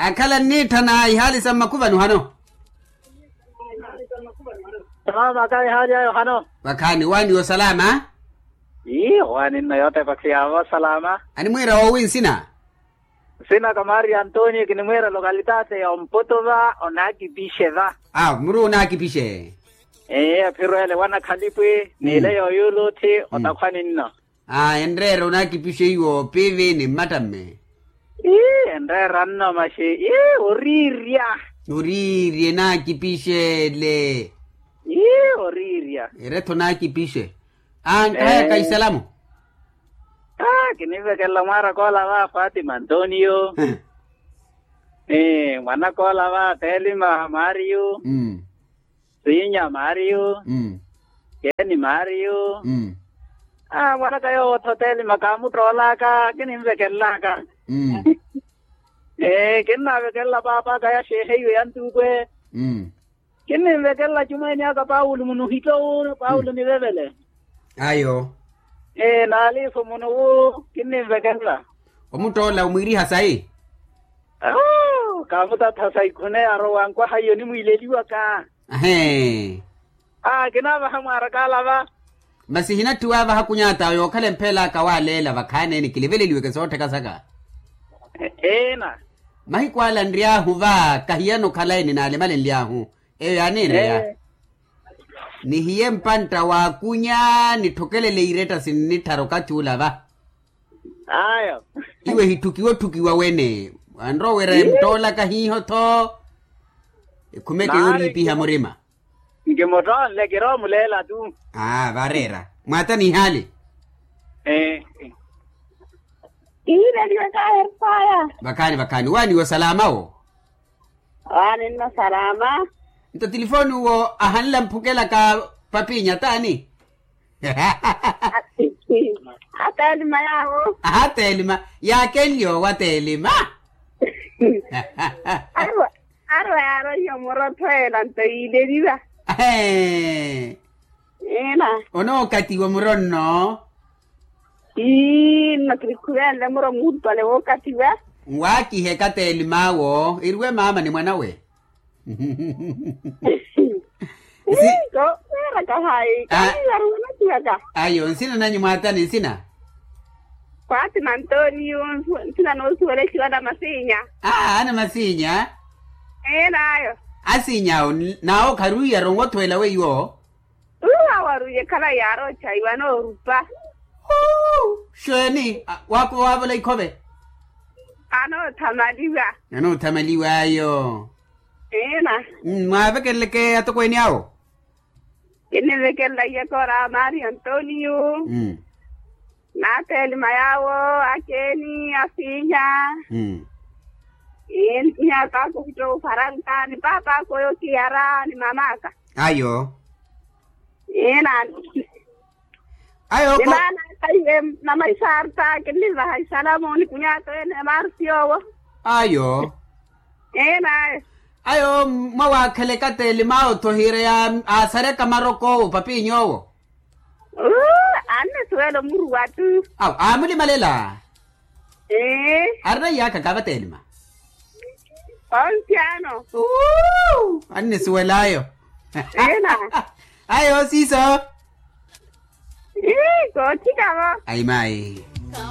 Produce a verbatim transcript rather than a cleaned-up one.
Akhala nniitthana ihaali sa mmakuvani ohano? Salaama ka ihaali ayo ohano? Vakhaani waaniwa osalaama. Ii owaani nno yootepa khiyava osalaama. Animwiira woowi nsina? Nsina ka mario antonio kinimwiira lokalitati ya omputu va onaakipixe va. Awo muri onaakipixe. Ee aphiro ele wanakhalipwi niile yooyuula otthi otakhwani nno. Aa enreera onaakipixe iwo piivi ni mmattamme. Ii enreera nno maxi ii oriirya. Oriirya enaakipixele. Ii oriirya. Erettha onaakipixe. Aa nkahayaka isalamu. Aa kinivekelela mwaaraka ola va fatima antonio. Mwanaka ola va telima mario. Siinya mario. Keni mario. Aa mwanaka yoowo othotelima kaamuttoolaka kininvekelelaka. Ee kinnavekelela paapaka ya xeexe iwe ya ntuukwe. Kinninvekelela cumweeni aka paulo munuhitto wu paulo nivevele. Ayo. Ee naaliifu munu wu kinninvekelela. Omuttoola omwiiriha sayi. Kaamutattha sayi khune arowa nkwaha iyo nimwiileliwaka. Ahee. Aa kinaavaha mwaaraka ala va. Masi hinatthiwa avaha kunyaata yookhala empheelaka waaleela vakhaaneni kiliveleliweke soottheka saka. Eena. Mahiku ala nry'ahu va kahiyana okhala eni naalimalenly'ahu. Eyo yaaniireya. Nihiye mpantta waakunya nitthokelele iiretta sinnitthara okathi ula va. Ayo. Iwe hitthukiwa otthukiwa wene. Anrowa wira emuttoolaka hiiho-tho. Ekhumeke yooriipiha murima. Nkimuttoonle kirowa omuleela tu. Aa vareera mwaata nihaali. Ee. Kihiileliwe kaaherifaya. Vakhaani vakhaani waaniwa osalaama wo. Waani nno salaama. Nto tilifooni uwo ahanla mphukelaka papinya t'ani? Atelima yaawo. Aha telima. Yaakenlyo wa telima. Arwa arwa yaaroiha omurotho ela nto yiileliwa. Eena. Onookatiwa muro nno. Ii nno kirikhuvenle muro muulupale wookatiwa. Nwaakiheka telim'awo eriwe maama ni mwan'awe. Nsi- Ii kooweraka hayi. Kaniivaruwela kiyaka. Ayo nsina nanyu mwaatani nsina? Kwaati na antonio. Nsina noosuwela exiwa na masinya. Aa ana masinya. Ee naayo. Asinya awo. Naawo kharuwiyaru onwottho ela weiwo. Uwo awarwiye khalayi yaaroochaiwa anoorupa. Xeeni? Waavola ikhove. Anoothamaliwa. Anoothamaliw'ayo. Eena. Mwaavekeleleke atokweeni awo. Kinnivekelela iyekora mario antonio. Naatelima yaawo akeeni asiinya. Iinya paapa okittowa ofaranka ni paapa aka oyo kiyara ni mamaaka. Ayo. Eena. Ayo ni maana aka iwe mama isaarta kinnivaha isalamu ni kunyaato ene maarti yoowo. Ayo. Eena. Ayo mwawaakheleka telim'awo-tho hiireya aasareka marok'owo papiny'owo. Annisuwela omuruwa tu. Awo aamulimalela. Arina iyaakha kaava telima. Onsi ano. Annisuwel'ayo. Ayo siiso. Koothikavo. Ayi mayi.